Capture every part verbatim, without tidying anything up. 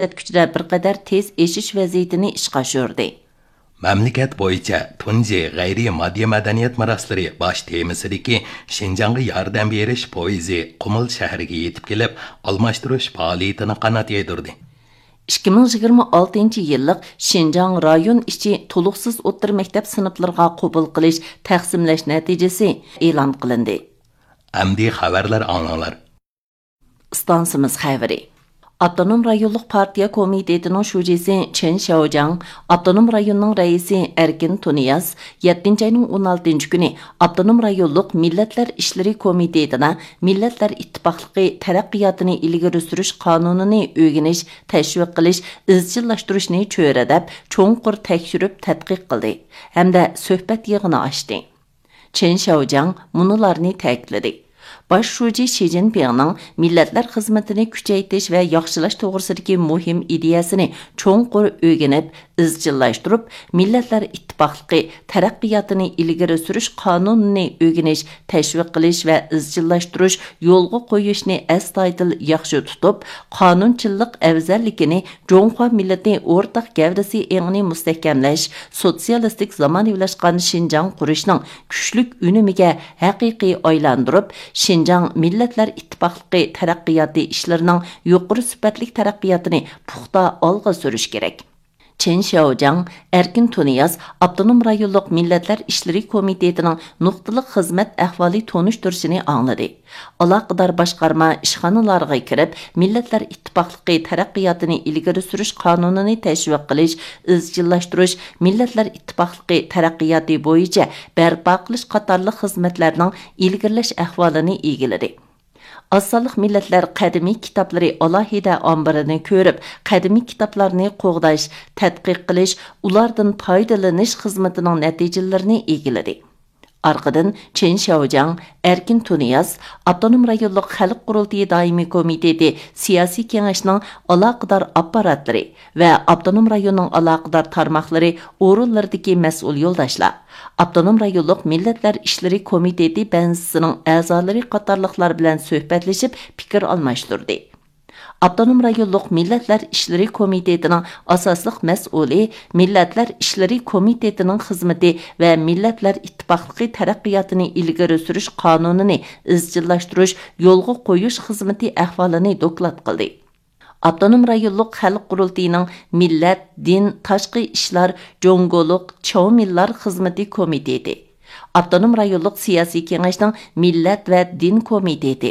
كۈچىدە بىر قەدەر تېز ئېشىش ۋەزىيىتىنى ئىشقا ئاشۇردى. مەملىكەت بويىچە تۇنجى غەيرىي ماددىي مەدەنىيەت مىراسلىرى باش تېمىسىدىكى شىنجاڭغا ياردەم بېرىش پويىزى قۇمۇل شەھىرىگە يېتىپ كېلىپ، ئالماشتۇرۇش پائالىيىتىنى قانات يايدۇردى. ئىككى مىڭ يىگىرمە ئالتىنچى يىللىق شىنجاڭ رايون ئىچى تولۇقسىز ئوتتۇرا مەكتەپ سىنىپلىرىغا قوبۇل قىلىش تەقسىملەش نەتىجىسى ئېلان قىلىندى. ئەمدى خەۋەرلەر ئاڭلاڭلار. ئىستانسىمىز خەۋىرى. ئاپتونوم رايونلۇق پارتىيە كومىتېتىنىڭ شۇجىسى چېن شياۋجياڭ، ئاپتونوم رايوننىڭ رەئىسى ئەركىن تۇنىياز يەتتىنچى ئاينىڭ ئون ئالتىنچى كۈنى ئاپتونوم رايونلۇق مىللەتلەر ئىشلىرى كومىتېتىدا مىللەتلەر ئىتتىپاقلىقى تەرەققىياتىنى ئىلگىرى سۈرۈش قانۇنىنى ئۆگىنىش، تەشۋىق قىلىش، ئىزچىللاشتۇرۇشنى چۆرىدەپ، چوڭقۇر تەكشۈرۈپ تەتقىق قىلدى ھەمدە سۆھبەت يىغىنى ئاچتى. چېن شياۋجياڭ مۇنۇلارنى تەكىتلىدى: باش شۇجى شى جىنپىڭنىڭ مىللەتلەر خىزمىتىنى كۈچەيتىش ۋە ياخشىلاش توغرىسىدىكى مۇھىم ئىدىيەسىنى چوڭقۇر ئۆگىنىپ، ئىزچىللاشتۇرۇپ، مىللەتلەر ئىتتىپاقلىقى تەرەققىياتىنى ئىلگىرى سۈرۈش قانۇنىنى ئۆگىنىش، تەشۋىق قىلىش ۋە ئىزچىللاشتۇرۇش، يولغا قويۇشنى ئەستايىدىل ياخشى تۇتۇپ، قانۇنچىللىق ئەۋزەللىكىنى جۇڭخۇا مىللىتى ئورتاق گەۋدىسى ئېڭىنى مۇستەھكەملەش، سوتسىيالىستىك زامانىۋىلاشقان شىنجاڭ قۇرۇشنىڭ كۈچلۈك ئۈنۈمىگە ھەقىقىي ئايلاندۇرۇپ، شىنجاڭ مىللەتلەر ئىتتىپاقلىقى تەرەققىياتى ئىشلىرىنىڭ يۇقىرى سۈپەتلىك تەرەققىياتىنى پۇختا ئالغا سۈرۈش كېرەك. چېن شياۋجياڭ، ئەركىن تۇنىياز ئاپتونوم رايونلۇق مىللەتلەر ئىشلىرى كومىتېتىنىڭ نۇقتىلىق خىزمەت ئەھۋالى تونۇشتۇرۇشىنى ئاڭلىدى. ئالاقىدار باشقارما ئىشخانىلارغا كىرىپ، مىللەتلەر ئىتتىپاقلىقى تەرەققىياتىنى ئىلگىرى سۈرۈش قانۇنىنى تەشۋىق قىلىش، ئىزچىللاشتۇرۇش، مىللەتلەر ئىتتىپاقلىقى تەرەققىياتى بويىچە بەرپا قىلىش قاتارلىق خىزمەتلەرنىڭ ئىلگىرىلەش ئەھۋالىنى ئىگىلىدى. ئاز سانلىق مىللەتلەر قەدىمىي كىتابلىرى ئالاھىدە ئامبىرىنى كۆرۈپ، قەدىمىي كىتابلارنى قوغداش، تەتقىق قىلىش، ئۇلاردىن پايدىلىنىش خىزمىتىنىڭ نەتىجىلىرىنى ئىگىلىدى. ئارقىدىن چېن شياۋجياڭ، ئەركىن تۇنىياز، ئاپتونوم رايونلۇق خەلق قۇرۇلتىيى دائىمىي كومىتېتى سىياسىي كېڭەشنىڭ ئالاقىدار ئاپپاراتلىرى ۋە ئاپتونوم رايوننىڭ ئالاقىدار تارماقلىرى ئورۇنلىرىدىكى مەسئۇل يولداشلار، ئاپتونوم رايونلۇق مىللەتلەر ئىشلىرى كومىتېتى بەنزىسىنىڭ ئەزالىرى قاتارلىقلار بىلەن سۆھبەتلىشىپ پىكىر ئالماشتۇردى. ئاپتونوم رايونلۇق مىللەتلەر ئىشلىرى كومىتېتىنىڭ ئاساسلىق مەسئۇلى مىللەتلەر ئىشلىرى كومىتېتىنىڭ خىزمىتى ۋە مىللەتلەر ئىتتىپاقلىقى تەرەققىياتىنى ئىلگىرى سۈرۈش قانۇنىنى ئىزچىللاشتۇرۇش، يولغا قويۇش خىزمىتى ئەھۋالىنى دوكلات قىلدى. ئاپتونوم رايونلۇق خەلق قۇرۇلتىيىنىڭ مىللەت، دىن، تاشقى ئىشلار، جۇڭگولۇق، چاۋمىنلار خىزمىتى كومىتېتى، ئاپتونوم رايونلۇق سىياسىي كېڭەشنىڭ مىللەت ۋە دىن كومىتېتى،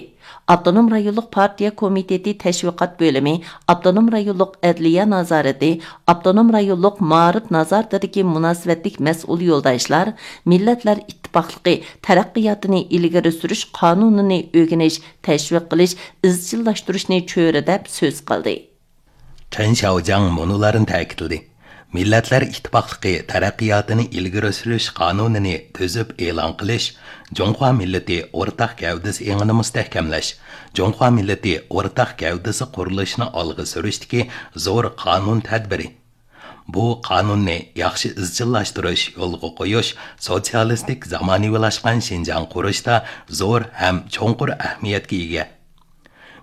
ئاپتونوم رايونلۇق پارتىيە كومىتېتى تەشۋىقات بۆلۈمى، ئاپتونوم رايونلۇق ئەدلىيە نازارىتى، ئاپتونوم رايونلۇق مائارىپ نازارىتىدىكى مۇناسىۋەتلىك مەسئۇل يولداشلار مىللەتلەر ئىتتىپاقلىقى تەرەققىياتىنى ئىلگىرى سۈرۈش قانۇنىنى ئۆگىنىش، تەشۋىق قىلىش، ئىزچىللاشتۇرۇشنى چۆرىدەپ سۆز قىلدى. چېن شياۋجياڭ مۇنۇلارنى تەكىتلىدى: مىللەتلەر ئىتتىپاقلىقى تەرەققىياتىنى ئىلگىرى سۈرۈش قانۇنىنى تۈزۈپ ئېلان قىلىش، جۇڭخۇا مىللىتى ئورتاق گەۋدىسى ئېڭىنى مۇستەھكەملەش، جۇڭخۇا مىللىتى ئورتاق گەۋدىسى قۇرۇلۇشىنى ئالغا سۈرۈشتىكى زور قانۇن تەدبىرى. بۇ قانۇننى ياخشى ئىزچىللاشتۇرۇش، يولغا قويۇش سوتسىيالىستىك زامانىۋىلاشقان شىنجاڭ قۇرۇشتا زور ھەم چوڭقۇر ئەھمىيەتكە ئىگە.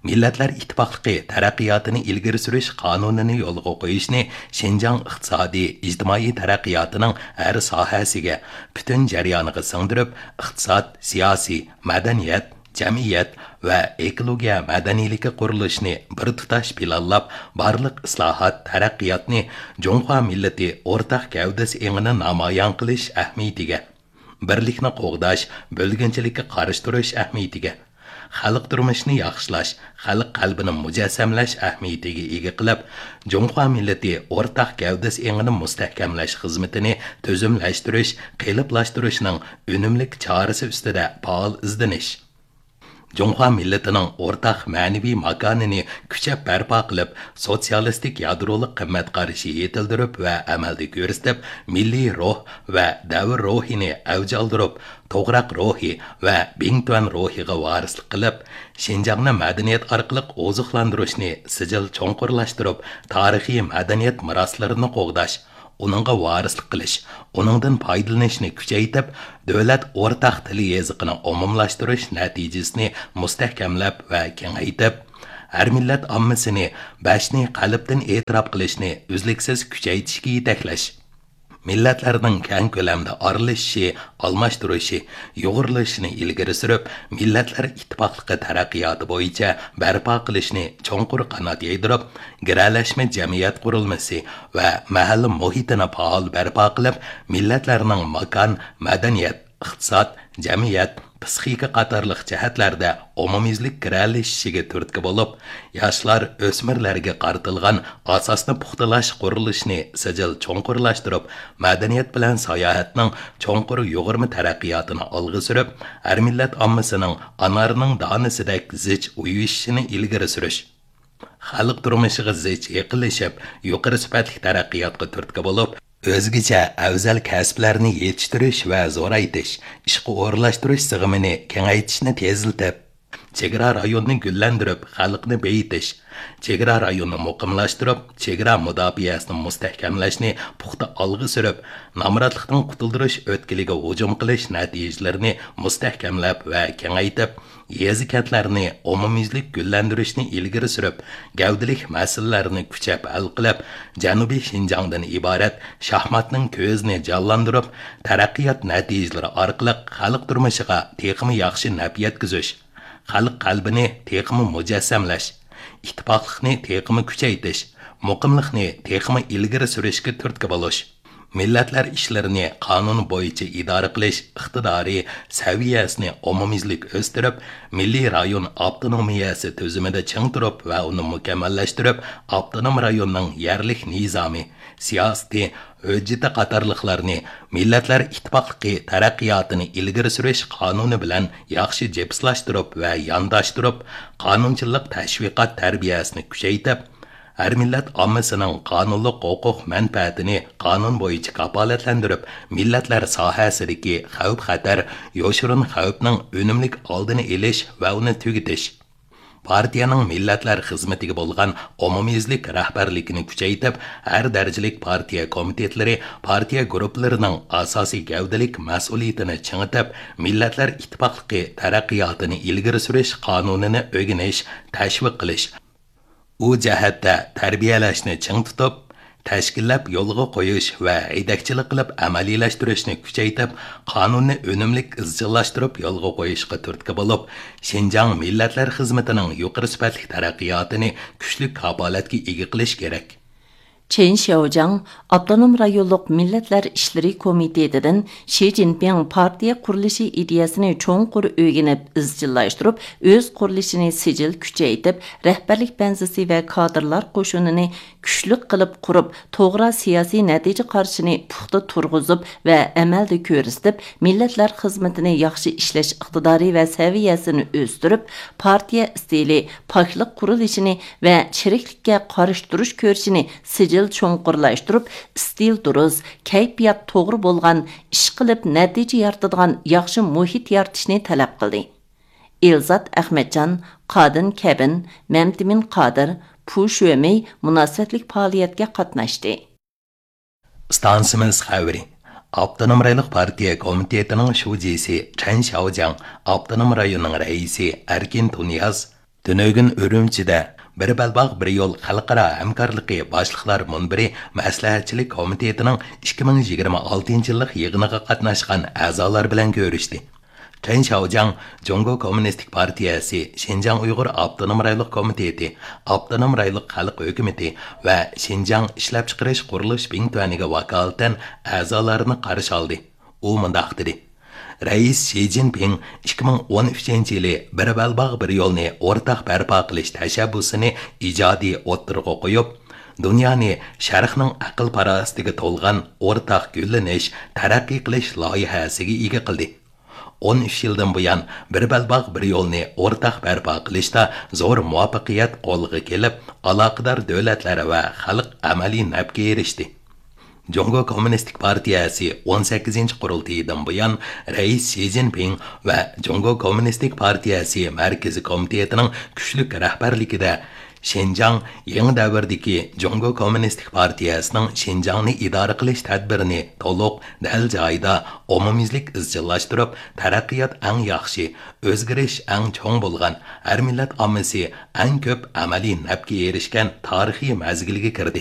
مىللەتلەر ئىتتىپاقلىقى تەرەققىياتىنى ئىلگىرى سۈرۈش قانۇنىنى يولغا قويۇشنى شىنجاڭ ئىقتىسادىي، ئىجتىمائىي تەرەققىياتىنىڭ ھەر ساھەسىگە، پۈتۈن جەريانىغا سىڭدۈرۈپ، ئىقتىساد، سىياسىي، مەدەنىيەت، جەمئىيەت ۋە ئېكولوگىيە مەدەنىيلىكى قۇرۇلۇشىنى بىر تۇتاش پىلانلاپ، بارلىق ئىسلاھات، تەرەققىياتنى جۇڭخۇا مىللىتى ئورتاق گەۋدىسى ئېڭىنى نامايان قىلىش ئەھمىيىتىگە، بىرلىكنى قوغداش، بۆلگۈنچىلىككە قارشى تۇرۇش ئەھمىيىتىگە، خەلق تۇرمۇشىنى ياخشىلاش، خەلق قەلبىنى مۇجەسسەملەش ئەھمىيىتىگە ئىگە قىلىپ، جۇڭخۇا مىللىتى ئورتاق گەۋدىسى ئېڭىنى مۇستەھكەملەش خىزمىتىنى تۈزۈملەشتۈرۈش، قېلىپلاشتۇرۇشنىڭ ئۈنۈملۈك چارىسى ئۈستىدە پائال ئىزدىنىش. جۇڭخۇا مىللىتىنىڭ ئورتاق مەنىۋى ماكانىنى كۈچەپ بەرپا قىلىپ، سوتسىيالىستىك يادرولۇق قىممەت قارىشى يېتىلدۈرۈپ ۋە ئەمەلدە كۆرسىتىپ، مىللىي روھ ۋە دەۋر روھىنى ئەۋج ئالدۇرۇپ، توغراق روھى ۋە بىڭتۈەن روھىغا ۋارىسلىق قىلىپ، شىنجاڭنى مەدەنىيەت ئارقىلىق ئوزۇقلاندۇرۇشنى سىجىل چوڭقۇرلاشتۇرۇپ، تارىخىي مەدەنىيەت مىراسلىرىنى قوغداش، ئۇنىڭغا ۋارىسلىق قىلىش، ئۇنىڭدىن پايدىلىنىشنى كۈچەيتىپ، دۆلەت ئورتاق تىل يېزىقىنى ئومۇملاشتۇرۇش نەتىجىسىنى مۇستەھكەملەپ ۋە كېڭەيتىپ، ھەر مىللەت ئاممىسىنى بەشنى قەلبتىن ئېتىراپ قىلىشنى ئۈزلۈكسىز كۈچەيتىشكە يېتەكلەش، مىللەتلەرنىڭ كەڭ كۆلەمدە ئارىلىشىشى، ئالماشتۇرۇشى، يۇغۇرۇلۇشىنى ئىلگىرى سۈرۈپ، مىللەتلەر ئىتتىپاقلىقى تەرەققىياتى بويىچە بەرپا قىلىشنى چوڭقۇر قانات يايدۇرۇپ، گىرەلەشمە جەمئىيەت قۇرۇلمىسى ۋە مەھەللە مۇھىتىنى پائال بەرپا قىلىپ، مىللەتلەرنىڭ ماكان، مەدەنىيەت، ئىقتىساد، جەمئىيەت، پىسخىكا قاتارلىق جەھەتلەردە ئومۇميۈزلۈك گىرەلىشىشىگە تۈرتكە بولۇپ، ياشلار، ئۆسمۈرلەرگە قارىتىلغان ئاساسنى پۇختىلاش قۇرۇلۇشىنى سىجىل چوڭقۇرلاشتۇرۇپ، مەدەنىيەت بىلەن ساياھەتنىڭ چوڭقۇر يۇغۇرما تەرەققىياتىنى ئالغا سۈرۈپ، ھەر مىللەت ئاممىسىنىڭ ئانارنىڭ دانىسىدەك زىچ ئۇيۇشۇشىنى ئىلگىرى سۈرۈش، خەلق تۇرمۇشىغا زىچ يېقىنلىشىپ، يۇقىرى سۈپەتلىك تەرەققىياتقا تۈرتكە بولۇپ، ئۆزگىچە ئەۋزەل كەسىپلەرنى يېتىشتۈرۈش ۋە زورايتىش، ئىشقا ئورۇنلاشتۇرۇش سىغىمىنى كېڭەيتىشنى تېزلىتىپ، چېگرا رايونىنى گۈللەندۈرۈپ، خەلقنى بېيىتىش، چېگرا رايونىنى مۇقىملاشتۇرۇپ، چېگرا مۇداپىئەسىنى مۇستەھكەملەشنى پۇختا ئالغا سۈرۈپ، نامراتلىقتىن قۇتۇلدۇرۇش ئۆتكىلىگە ھۇجۇم قىلىش نەتىجىلىرىنى مۇستەھكەملەپ ۋە كېڭەيتىپ، يېزا-كەنتلەرنى ئومۇميۈزلۈك گۈللەندۈرۈشنى ئىلگىرى سۈرۈپ، گەۋدىلىك مەسىلىلەرنى كۈچەپ ھەل قىلىپ، جەنۇبىي شىنجاڭدىن ئىبارەت شاھماتنىڭ كۆزىنى جانلاندۇرۇپ، تەرەققىيات نەتىجىلىرى ئارقىلىق خەلق تۇرمۇشىغا تېخىمۇ ياخشى نەپ يەتكۈزۈش، خەلق قەلبىنى تېخىمۇ مۇجەسسەملەش، ئىتتىپاقلىقنى تېخىمۇ كۈچەيتىش، مۇقىملىقنى تېخىمۇ ئىلگىرى سۈرۈشكە تۈرتكە بولۇش. مىللەتلەر ئىشلىرىنى قانۇن بويىچە ئىدارە قىلىش ئىقتىدارى سەۋىيەسىنى ئومۇميۈزلۈك ئۆستۈرۈپ، مىللىي رايون ئاپتونومىيەسى تۈزۈمىدە چىڭ تۇرۇپ ۋە ئۇنى مۇكەممەللەشتۈرۈپ، ئاپتونوم رايوننىڭ يەرلىك نىزامى، سىياسىتى، ھۆججىتى قاتارلىقلارنى مىللەتلەر ئىتتىپاقلىقى تەرەققىياتىنى ئىلگىرى سۈرۈش قانۇنى بىلەن ياخشى جىپسلاشتۇرۇپ ۋە يانداشتۇرۇپ، قانۇنچىلىق تەشۋىقات تەربىيەسىنى كۈچەيتىپ، ھەر مىللەت ئاممىسىنىڭ قانۇنلۇق ھوقۇق مەنپەئەتىنى قانۇن بويىچە كاپالەتلەندۈرۈپ، مىللەتلەر ساھەسىدىكى خەۋپ-خەتەر، يوشۇرۇن خەۋپنىڭ ئۈنۈملۈك ئالدىنى ئېلىش ۋە ئۇنى تۈگىتىش. پارتىيەنىڭ مىللەتلەر خىزمىتىگە بولغان ئومۇميۈزلۈك رەھبەرلىكىنى كۈچەيتىپ، ھەر دەرىجىلىك پارتىيە كومىتېتلىرى، پارتىيە گۇرۇپپىلىرىنىڭ ئاساسىي گەۋدىلىك مەسئۇلىيىتىنى چىڭىتىپ، مىللەتلەر ئىتتىپاقلىقى تەرەققىياتىنى ئىلگىرى سۈرۈش قانۇنىنى ئۆگىنىش، تەشۋىق قىلىش، ئۇ جەھەتتە تەربىيەلەشنى چىڭ تۇتۇپ، تەشكىللەپ يولغا قويۇش ۋە ھەيدەكچىلىك قىلىپ ئەمەلىيلەشتۈرۈشنى كۈچەيتىپ، قانۇننى ئۈنۈملۈك ئىزچىللاشتۇرۇپ يولغا قويۇشقا تۈرتكە بولۇپ، شىنجاڭ مىللەتلەر خىزمىتىنىڭ يۇقىرى سۈپەتلىك تەرەققىياتىنى كۈچلۈك كاپالەتكە ئىگە قىلىش كېرەك. چېن شياۋجياڭ ئاپتونوم رايونلۇق مىللەتلەر ئىشلىرى كومىتېتىدىن شى جىنپىڭ پارتىيە قۇرۇلۇشى ئىدىيەسىنى چوڭقۇر ئۆگىنىپ، ئىزچىللاشتۇرۇپ، ئۆز قۇرۇلۇشىنى سىجىل كۈچەيتىپ، رەھبەرلىك بەنزىسى ۋە كادىرلار قوشۇنىنى كۈچلۈك قىلىپ قۇرۇپ، توغرا سىياسىي نەتىجە قارىشىنى پۇختا تۇرغۇزۇپ ۋە ئەمەلدە كۆرسىتىپ، مىللەتلەر خىزمىتىنى ياخشى ئىشلەش ئىقتىدارى ۋە سەۋىيەسىنى ئۆستۈرۈپ، پارتىيە ئىستىلى، پاكلىق قۇرۇلۇشىنى ۋە چىرىكلىككە قارشى تۇرۇش كۈرىشىنى سىجىل چوڭقۇرلاشتۇرۇپ، ئىستىل دۇرۇس، كەيپىيات توغرا بولغان، ئىشقىلىپ نەتىجە يارىتىدىغان ياخشى مۇھىت يارىتىشنى تەلەپ قىلدى. ئېلزات ئەخمەتجان، قادىن كەبىن، مەمتىمىن قادىر، پۇ شۆمېي مۇناسىۋەتلىك پائالىيەتكە قاتناشتى. ئىستانسىمىز خەۋىرى. ئاپتونوم رايونلۇق پارتىيە كومىتېتىنىڭ شۇجىسى چەن شياۋجياڭ، ئاپتونوم رايوننىڭ رەئىسى ئەركىن تۇنىياز تۈنۈگۈن ئۈرۈمچىدە بىر بەلباغ، بىر يول خەلقئارا ھەمكارلىقى باشلىقلار مۇنبىرى مەسلىھەتچىلىك كومىتېتىنىڭ ئىككى مىڭ يىگىرمە ئالتىنچى يىللىق يىغىنىغا قاتناشقان ئەزالار بىلەن كۆرۈشتى. چېن شياۋجياڭ جۇڭگو كوممۇنىستىك پارتىيەسى، شىنجاڭ ئۇيغۇر ئاپتونوم رايونلۇق كومىتېتى، ئاپتونوم رايونلۇق خەلق ھۆكۈمىتى ۋە شىنجاڭ ئىشلەپچىقىرىش قۇرۇلۇش بىڭتۈەنىگە ۋاكالىتەن ئەزالارنى قارشى ئالدى. ئۇ مۇنداق دېدى: رەئىس شى جىنپىڭ ئىككى مىڭ ئون ئۈچىنچى يىلى بىر بەلباغ، بىر يولنى ئورتاق بەرپا قىلىش تەشەببۇسىنى ئىجادىي ئوتتۇرىغا قويۇپ، دۇنيانى شەرقنىڭ ئەقىل-پاراسىتىگە تولغان ئورتاق گۈللىنىش، تەرەققىي قىلىش لايىھەسىگە ئىگە قىلدى. ئون ئۈچ يىلدىن بۇيان، بىر بەلباغ، بىر يولنى ئورتاق بەرپا قىلىشتا زور مۇۋەپپەقىيەت قولغا كېلىپ، ئالاقىدار دۆلەتلەر ۋە خەلق ئەمەلىي نەپكە ئېرىشتى. جۇڭگو كوممۇنىستىك پارتىيەسى ئون سەككىزىنچى قۇرۇلتىيىدىن بۇيان، رەئىس شى جىنپىڭ ۋە جۇڭگو كوممۇنىستىك پارتىيەسى مەركىزىي كومىتېتىنىڭ كۈچلۈك رەھبەرلىكىدە، شىنجاڭ يېڭى دەۋردىكى جۇڭگو كوممۇنىستىك پارتىيەسىنىڭ شىنجاڭنى ئىدارە قىلىش تەدبىرىنى تولۇق، دەل جايىدا، ئومۇميۈزلۈك ئىزچىللاشتۇرۇپ، تەرەققىيات ئەڭ ياخشى، ئۆزگىرىش ئەڭ چوڭ بولغان، ھەر مىللەت ئاممىسى ئەڭ كۆپ ئەمەلىي نەپكە ئېرىشكەن تارىخىي مەزگىلگە كىردى.